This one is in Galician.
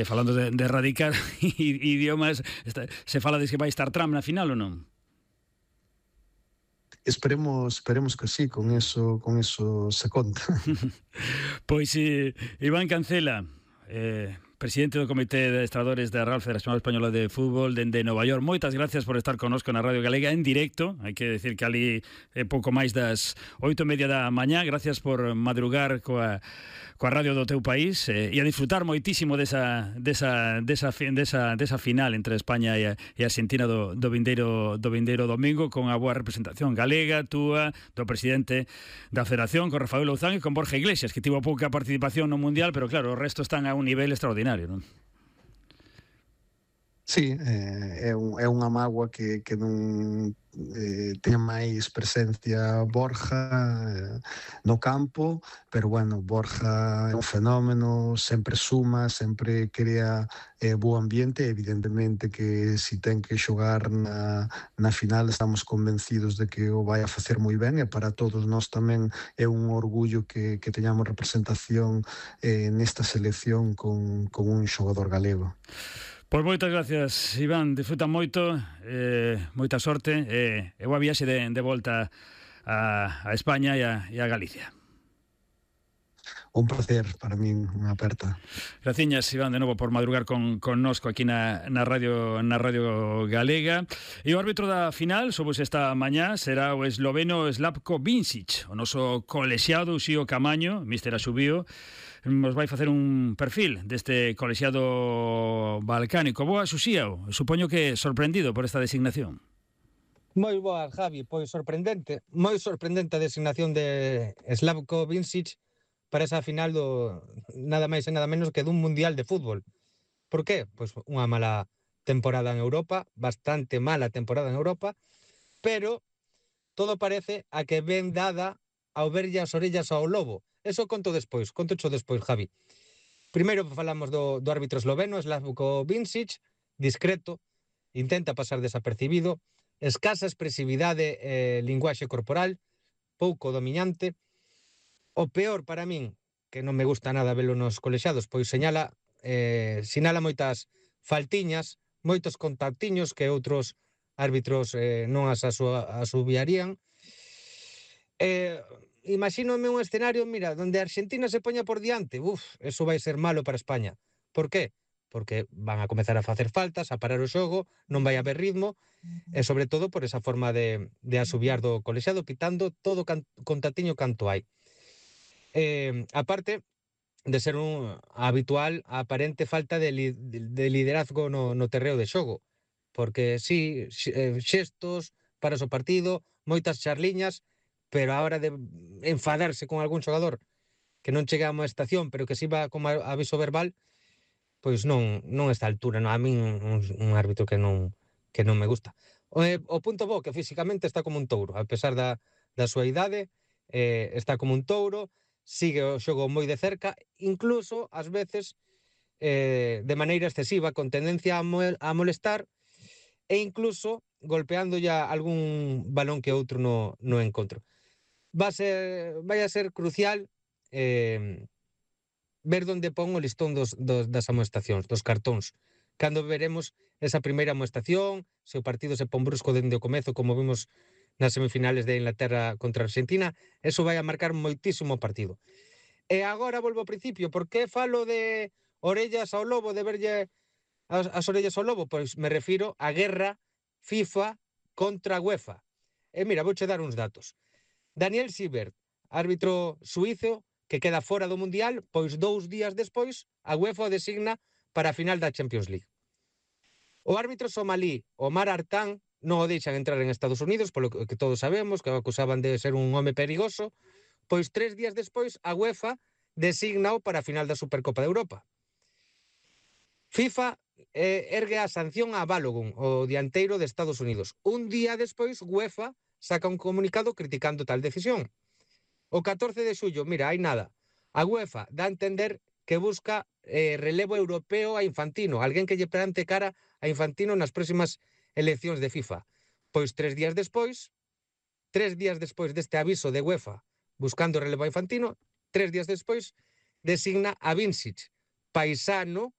falando de erradicar idiomas, se fala de que vai estar Trump na final ou non? Esperemos que sí, con eso se conta. Pois Iván Cancela, presidente do Comité de Adestradores da Real Federación Española de Fútbol dende Nova York, moitas gracias por estar connosco na Radio Galega en directo. Hai que decir que ali é pouco máis das 8:30 da mañá. Gracias por madrugar coa radio do teu país e a disfrutar moitísimo desa final entre España e Argentina do vindeiro domingo, con a boa representación galega, túa, do presidente da Federación, con Rafael Louzán e con Borja Iglesias, que tivo pouca participación no Mundial, pero claro, o resto están a un nivel extraordinario, non? Sí, é unha mágoa que non teña máis presencia Borja no campo, pero bueno, Borja é un fenómeno, sempre suma, sempre crea bo ambiente. Evidentemente que si ten que xogar na final estamos convencidos de que o vai a facer moi ben, e para todos nós tamén é un orgullo que teñamos representación nesta selección con un xogador galego. Pois moitas gracias, Iván, disfruta moito, moita sorte e boa viaxe de volta a España e a Galicia. Un placer para min, unha aperta. Graciñas, Iván, de novo por madrugar connosco aquí na Radio Galega. E o árbitro da final, somos esta mañá, será o esloveno Slavko Vincic, o noso colexiado Uxío Camaño, míster Asubío. Nos vai facer un perfil deste colexiado balcánico. Boa, Uxío, supoño que sorprendido por esta designación. Moi boa, Javi, pois sorprendente, moi sorprendente a designación de Slavko Vincic para esa final do nada máis e nada menos que dun mundial de fútbol. Por qué? Pois unha mala temporada en Europa, bastante mala temporada en Europa, pero todo parece a que ben dada ao verlle as orellas ao lobo. Eso conto despois, Javi. Primeiro falamos do árbitro esloveno, Slavko Vincic, discreto, intenta pasar desapercibido, escasa expresividade e linguaxe corporal, pouco dominante. O peor para min, que non me gusta nada velo nos colexiados, pois sinala moitas faltiñas, moitos contactiños que outros árbitros non as asubiarían. Imagínome un escenario, mira, donde Argentina se poña por diante, eso vai ser malo para España. Por qué? Porque van a comezar a facer faltas, a parar o xogo, non vai haber ritmo, e sobre todo por esa forma de asubiar do colexiado, quitando todo contactiño canto hai. Aparte de ser un habitual a aparente falta de liderazgo no terreo de xogo, porque sí, xestos, paras o partido, moitas charliñas, pero a hora de enfadarse con algún xogador que non chega a unha estación, pero que si va como aviso verbal, pois non está a altura. A min un árbitro que non me gusta. O punto bo, que físicamente está como un touro, a pesar da súa idade, está como un touro, sigue o xogo moi de cerca, incluso, ás veces, de maneira excesiva, con tendencia a molestar, e incluso golpeando ya algún balón que outro no encontro. Vai a ser crucial ver onde pon o listón das amoestacións, dos cartóns. Cando veremos esa primeira amoestación, se o partido se pon brusco dende o comezo, como vimos nas semifinales de Inglaterra contra Argentina, eso vai a marcar moitísimo o partido. E agora volvo ao principio, por que falo de orellas ao lobo, de verlle as orellas ao lobo? Pois me refiro á guerra FIFA contra UEFA. E mira, vouche dar uns datos. Daniel Siebert, árbitro suízo que queda fora do Mundial, pois 2 días despois a UEFA o designa para a final da Champions League. O árbitro somalí Omar Artan non o deixan entrar en Estados Unidos, polo que todos sabemos, que o acusaban de ser un home perigoso, pois 3 días despois a UEFA designao para a final da Supercopa de Europa. FIFA ergue a sanción a Balogun, o dianteiro de Estados Unidos. Un día despois, UEFA saca un comunicado criticando tal decisión. O 14 de xullo, mira, hai nada. A UEFA dá a entender que busca relevo europeo a Infantino, alguén que lle plante cara a Infantino nas próximas eleccións de FIFA. Pois 3 días despois deste aviso de UEFA buscando relevo a Infantino, 3 días despois designa a Vincic, paisano